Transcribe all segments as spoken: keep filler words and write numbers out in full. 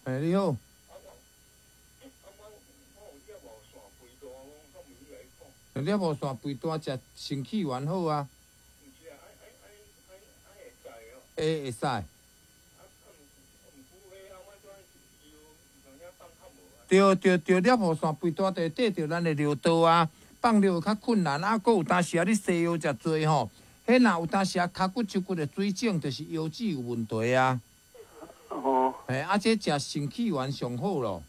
嘿，你好。你无线肥大，食腎氣丸好啊。會會使。對對對，尿無線肥大就會綴著咱的尿道啊，放尿較困難啊。閣有當時啊，你西藥食濟吼，彼若有當時啊，跤骨手骨的水腫，就是腰子有問題啊。哦。嘿，啊，這食腎氣丸上好咯。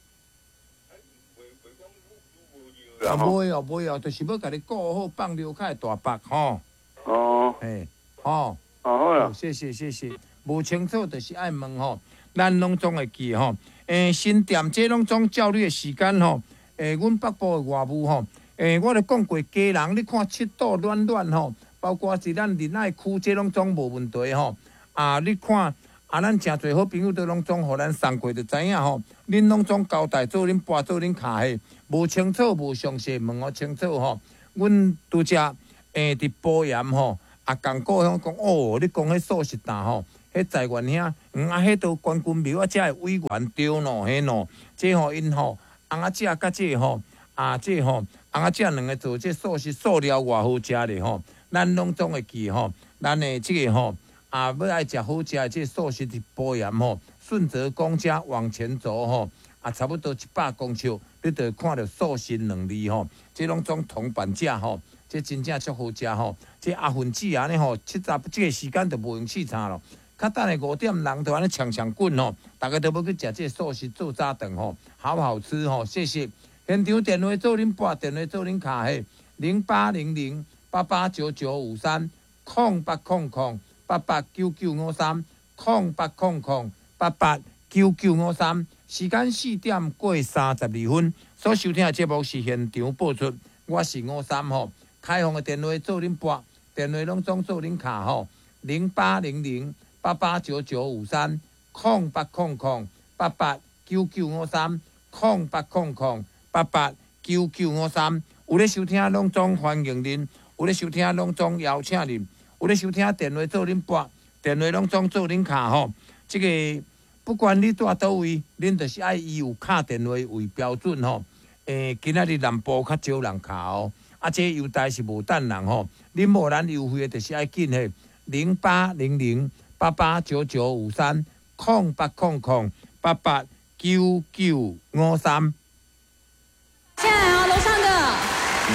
啊，袂哦，袂哦，就是欲共你顧好，放尿較會大腹吼。哦。嘿，吼。哦，好啦。謝謝謝謝，無清楚就是愛問吼，咱攏總會記吼。欸，新店這攏總照你的時間吼，欸，阮北部的外務吼，欸，我著講過，家人你看七度暖暖吼，包括是咱仁愛區這攏總無問題吼。啊，你看啊，咱誠濟好朋友都攏總予咱送過，就知影吼。恁攏總交代做恁撥做恁卡的，無清楚無詳細問予清楚吼。阮拄則欸佇埔鹽吼，啊，仝故鄉講哦，你講彼素食檔吼，彼在原遐，嗯啊，彼都關君廟啊，遮的委員對喏，彼喏，這吼𪜶吼，翁仔食佮這吼，啊這吼，翁仔食兩个做這素食素料偌好食咧吼，咱攏總會記吼，咱的這个吼，啊欲愛食好食的這素食佇埔鹽吼，順澤宮遮往前走吼，啊差不多一百公尺，你就會看著素食兩字吼，這攏總銅板價吼。這真正足好食吼！這阿芬姊按呢吼，七十這个時間就無閒試菜咯。較等下五點人就按呢搶搶滾吼，逐家都欲去食這素食做早頓吼，好好吃吼！謝謝。現場電話做恁撥，電話做恁敲嘿，零八零零八八九九五三，空八空空八八九九五三，空八空空八八九九五三。時間四點過三十二分，所收聽的節目是現場播出，我是五三吼。開放的電話做恁撥，電話攏總做恁敲吼，零八零零八八九九五三，空八空空八八九九五三，空八空空八八九九五三。有咧收聽攏總歡迎恁，有咧收聽攏總邀請恁，有咧收聽電話做恁撥，電話攏總做恁敲吼。這个不管你蹛佗位，恁就是愛以有敲電話為標準吼。欸，今仔日南部較少人敲哦。啊，這優待是無等人吼，恁無咱優惠的，就是愛緊嘿，零八零零八八九九五三，空八空空八八九九五三。